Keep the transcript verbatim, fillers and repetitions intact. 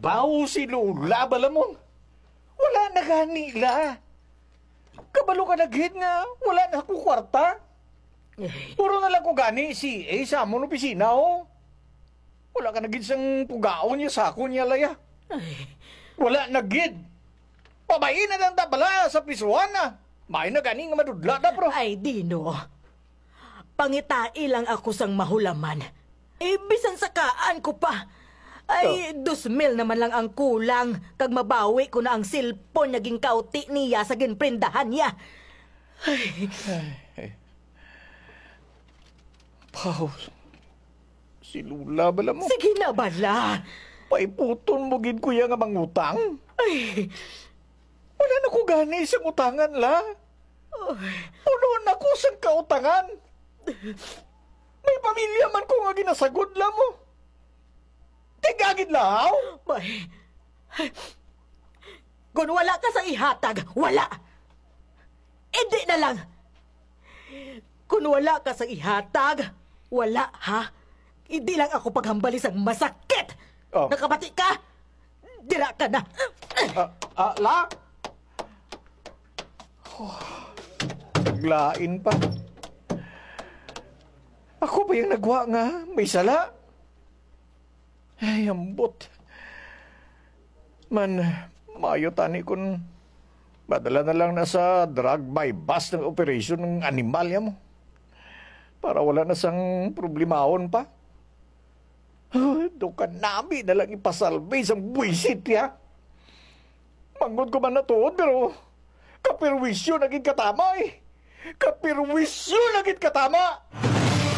Baw si Lola bala mo. Wala na gani la. Kabalo ka na gid nga wala na ko kwarta. Puro na lang ko gani si A sa amon opisina, oh. Wala ka na gid sang pugaon niya sa akon niya, Laya. Ay. Wala na gid. Pabayi na lang ta bala sa prisuhan na. May na gani nga madudla ta, bro. Ay, Dino. Pangitai lang ako sang mahulaman. Eh, bisan sakaan ko pa. Ay, Oh. dos mil naman lang ang kulang, kag mabawi ko na ang cellphone nga ginkauti niya sa ginprendahan niya. Ay. Ay, ay. Paul, si Lola bala mo? Sige na bala. Paiputon mo gid ko iya nga mangutang? Ay. Wala na ko gani sa utangan la. Ay. Puno na ko sang kautangan. May pamilya man ko nga ginasagod la mo. Tigagid lahaw? Bay, kung wala ka sa ihatag, wala. Hindi na lang. Kung wala ka sa ihatag, wala, ha? Hindi lang ako paghambali sang masakit. Oh. Nakabati ka? Dira ka na. Ah, ah, la? Oh, naglain pa. Ako pa yung nagwa nga may sala. Ay, ambot. Man, maayo tani kun madala na lang na sa drug buy-bust ng operation ng animal ya mo. Para wala na sang problemahon pa. Do ka nami na lang ipasalbi sang buwisit ya. Manggod ko man natuod, pero kapirwisyo na gid katama eh. Kapirwisyo na gid katama!